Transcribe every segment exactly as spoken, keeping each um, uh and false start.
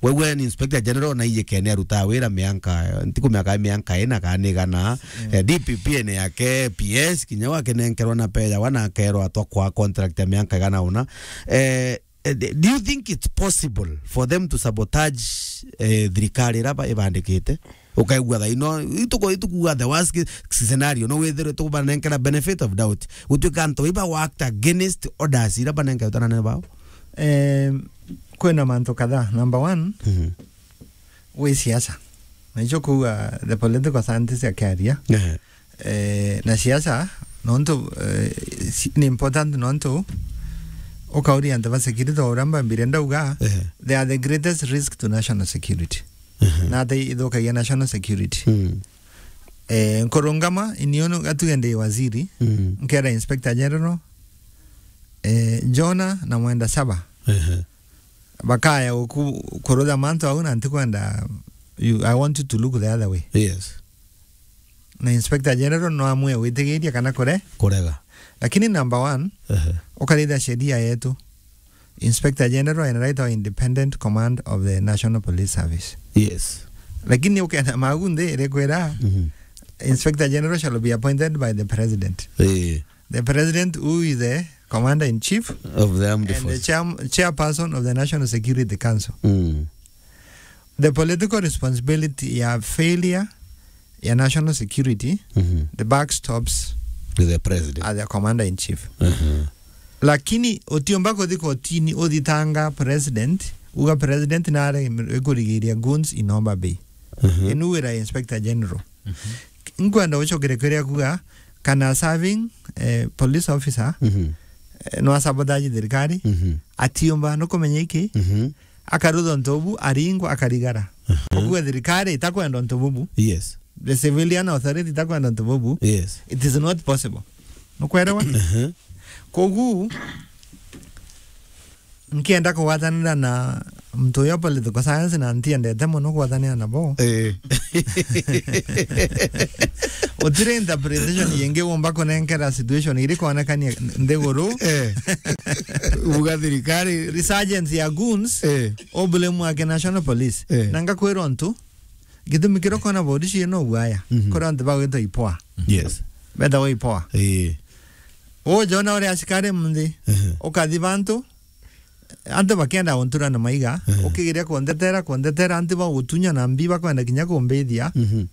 Wewe ni Inspector General na iyekene aruta wira mianka, ntiku miaka mianka ina kana igana, eh, D P P ene yake, P S, kinya wakenenkerwa na peya, wana akerwa atwa kwa contract ya mianka igana una. Eh, eh, d-, do you think it's possible for them to sabotage, eh, thirikari ira ba-, ibandikite? Ukaigua thaa ino, ituko-, itukuga the worst case scenario, no withirwe tubanenkera benefit of doubt. Gutuika antu iba worked against orders ira banenketwe na anene bao? Eh, kwina mantu kadhaa. Number one, Mhm. wi siasa. Na icio kuuga the political scientist akiaria. Ehe. Eh, na siasa, nontu, eh, si-, ni important nontu ukauria antu ba security, o uria mbambire ndauga, Ehe. they are the greatest risk to national security. Ehe. Na ati ithukagia national security. Mm. Eh, nkurungama, ini unu gatuge ndi waziri, Mm. nkera Inspector General, eh, Jonah na Mwenda Saba. Ehe. Bakaya uku-, kurutha mantu au na ntikwenda, you, I want you to look the other way. Yes. Na Inspector General no amwe witigiria kana kure-, Kurega. Lakini number one, Ehe. ukaritha sheria yetu. Inspector General ena right of independent command of the National Police Service. Yes. Lakini ukenda magu nthi irikwira, Mhm. Inspector General shall be appointed by the president. Eh. The president who is the commander in chief Of the armed and the forces. chairm-, chairperson of the National Security Council. Mm. The political responsibility ya failure ya national security, Mhm. the buck stops To the president. at the commander in chief. Mhm. Lakini utiumba kuthi kotini uthitanga president, uga president nare ikurigiria goons in Homa Bay. Mhm. Inu wira Inspector General. Mhm. Nkwenda ucokere kwiria kuga kana serving, eh, police officer, Mhm. eh, no asabotage thirikari, Mhm. atiumba, nukumenya iki, Mhm. akarutha untu bubu, aringwa, akarigara. Aha. Ukuga thirikari itakwenda untu bubu. Yes. The civilian authority itakwenda untu bubu. Yes. It is not possible. Nukwerewa? Aha. Kogu, nkienda kugwatanira na muntu uyo political science na ntiendete muno kugwatanira nabo. Eh. Utire interpretation yengi umba kunenkera situation iri kuonekania nthiguru. Eh. Uga thirikari. Resurgence ya goons, Eh. oblemu ake National Police. Eh. Na ngakwira untu, gitumi kiria ukona bodi cie no guaya, Mhm. kuri antu bagwitwa ipoa. Yes. Betawa ipoa. Eh. Ujona uria asikari munthi, Mhm. ukathi bantu, antu bakenda untura na maiga, Mhm. ukigeria kundetera, kundetera, antu bagutunya na mbi bakwenda kinya kumbithia. Mhm.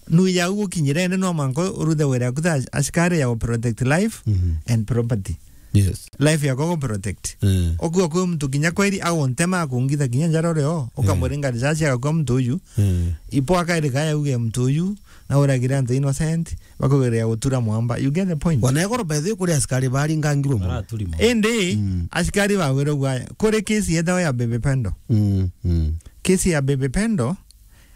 Nu yau gukinyira indi no mwanka uruthe wira yaku ta asikari ya protect life Mhm. and property. Yes. Life yakwa gu protect. Eh. Okua kwi muntu kinya kweri aguntema akungitha kinya njara urio, ukamuringa risasi agakua muntu uyu. Eh. Ipo akairika yauge muntu uyu na uragire antu innocent, bakugeria gutura mwamba. You get the point? Wana igoro by the way kuri asikari baringangirwe muno. Baraturi muno. Indi, Mm. asikari bagwire gwaya. Kuri kesi yetawa ya Baby Pendo. Mm, mm. Kesi ya Baby Pendo,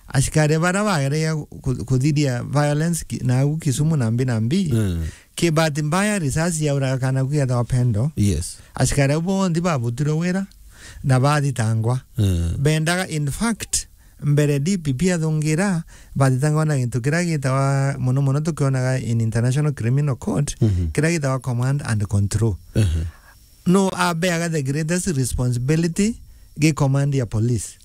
asikari bara bagereire ku-, kuthiria violence ki-, na au Kisumu na mbi na mbi. Mm. Ki bahati mbaya, risasi yauraga kana kugetawa Pendo. Yes. Asikari au bonthe babutire wira na bathitangwa. Mm. Bendaga, in fact, mbere D P P athungira, bathitangwa na gintu kiria gitawa, muno muno tukionaga in International Criminal Court, Mhm. kiria gitawa command and control. Mhm. No abeaga the greatest responsibility gi command ya police.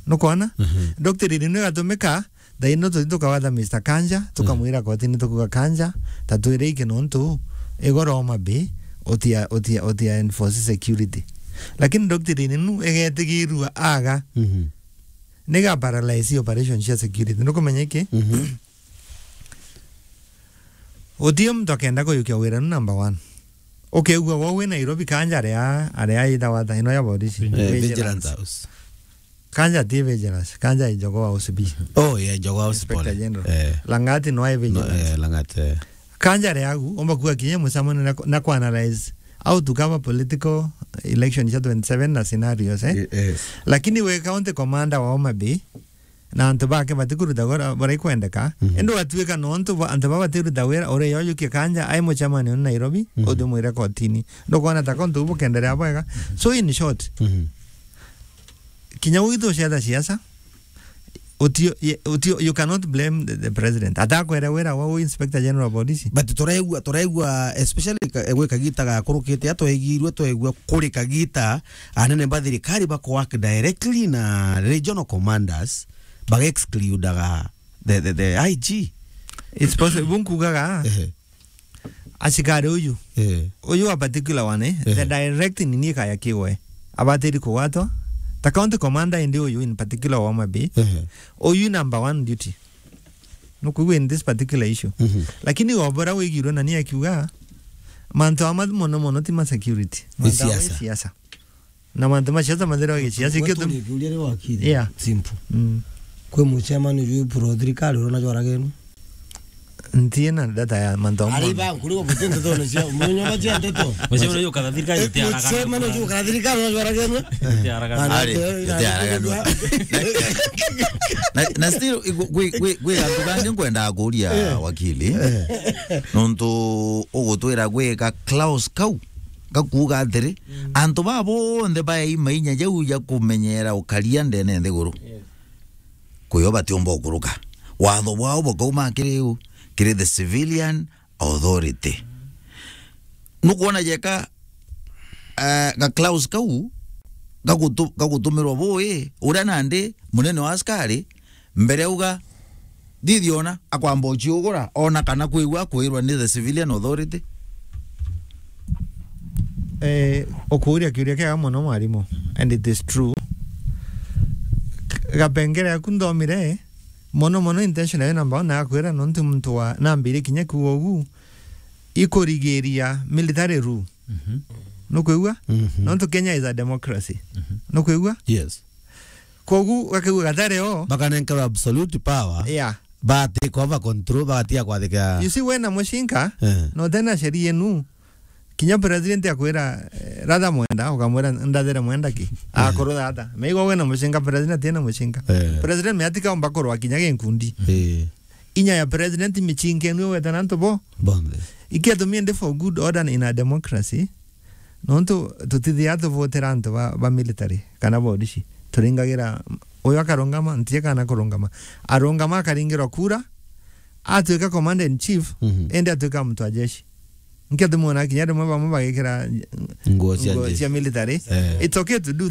Nukwona? Mhm. Doctrine ino igatumika, thaa ino tuthi tukawatha Mister Kanja, tukamwira kotini tukuga, "Kanja, ta twire iki nontu igoro Homa Bay, utia, utia, utia enforce security." Lakini doctrine inu igetigirua aga. Mhm. Niga paralyze operation cia security. Nukumenya iki? Mhm. Uti muntu akenda kuyukia wira nu number one. Ukeigua gwa wi Nairobi, Kanja aria, aria itawa thaa ino ya borisi. Eh, Vigilance. Vigilance House. Kanja ti Vigilance, Kanja i Jogoo House B. Oh, yeah, Jogoo House, Inspector pole. General. Eh. Langati no ai No, Vigilance. Eh, Langati, eh. Kanja aria agu, umba kuga kinya mucamano na, na ku analyze how to cover political election cia twenty-seven na scenarios, eh? Ye-, yes. Lakini we county commander wa Homa Bay, na antu bake batikuruta wira buria ikwendeka, Mhm. indi ugatuika nontu ba-, antu baba batiruta wira, uria yoyukia Kanja ai mucemanione Nairobi, Mhm. uthi mwire kotini. Ndukwona ta kontu bukenderea bwega? So in short, Mhm. kinya gwitu ucietha siasa, Utio, ye-, utio, you cannot blame the, the president. Atakwera wira wa u Inspector General of Police. But turaigua, turaigua, especially ka-, gwi kagita gakurukite, atwaigirwe, twaigua kuri kagita, anene ba thirikari bako work directly na regional commanders, baga excludaga the, the, the I G. It's possible, bunkugaga. Ehe. Asikari uyu. Eh. Uyu a particular one, eh, eh, the direct nini kaya kiwe. Abatiri kugwatwa. Ta county commander indi uyu in particular wa Homa Bay. Eh. Uyu number one duty. Nukwigua in this particular issue. Mhm. Lakini wabora wigirwe na ni akiuga, mantu ama mono mono ti ma security. Ni mantu ama siasa. Siasa. Na mantu ma siasa mathira wa gisiasa. Gwe ikio tu- turikiuria ri wakiri. Yeah. Simple. Mm. Kwi mucemani uju pro thirikari urona jwaragenwa? Ntiena data ya mantu amwe. Ari ba nkuri wa butente to cia munyo ba cia nteto. Mucemani uju kana thirikari. Eh, itiaraga. Mucemani uju kana thirikari urona jwaragenwa? Itiaraga. Ari, itiaraga. Na, na still, gwi, gwi, gwi antu bangi nkwenda kuria, eh, wakili. Eh. Nontu ugutwira gwika Klaus kau. Gakuuga atiri, mm, antu baa bonthe baeima inya jau ja kumenyera ukaria ndene nthiguru. Yes. Kwio batiumba ukuruka. Watho bwao bukauma kiri u, kiri the civilian authority. Nukwona jeka, eh, ga Klaus kau gagutu-, gagutumirwa bui, uria nandi munene wa askari, mbere auga, Ndithiona akwamba uciugura, ona kana kwigua akwirwa ni the civilian authority. Eh, ukuuria kiuria kiega mono, mwarimu, and it is true. K-, gapengere aku nthomire, mono mono intention yayo number one nakwira, nontu muntu wa, nambire kinya kuuga ugu, ikurigiria military rule. Mhm. Nukwigua? Mhm. Nontu Kenya is a democracy. Mhm. Nukwigua? Yes. Kogu gakigua gatari o. Bakanenkerwa absolute power. Yeah. Ba take over control, bagatiga kwathikira. You see, wena mucinka, eh, na utena sheria yenu, kinya president akwira, eh, rather mwenda, ukamwira, "Ndathere mwenda ki?" Eh. Akorwo thata. Meigo wena mucinka, president ena mucinka. Eh. President meatika omba kurwa kinya ginkundi. Eh. Inya ya president micinka enu weta na antu bo. Bonthe. Ikia tumie ndi for good order in a democracy. Nontu tutithia tuvotera antu ba, ba military kana borisi. Turingagira, uyu akarungama, ntie kana kurungama. Arungama akaringirwa kura, atwika commander in chief, mhm, ende atwika muntu wa jeshi. Nkia tumwona kinya rimwe bamwe bagikira nguo cia nguo jeshi, cia military. Eh. It's okay to do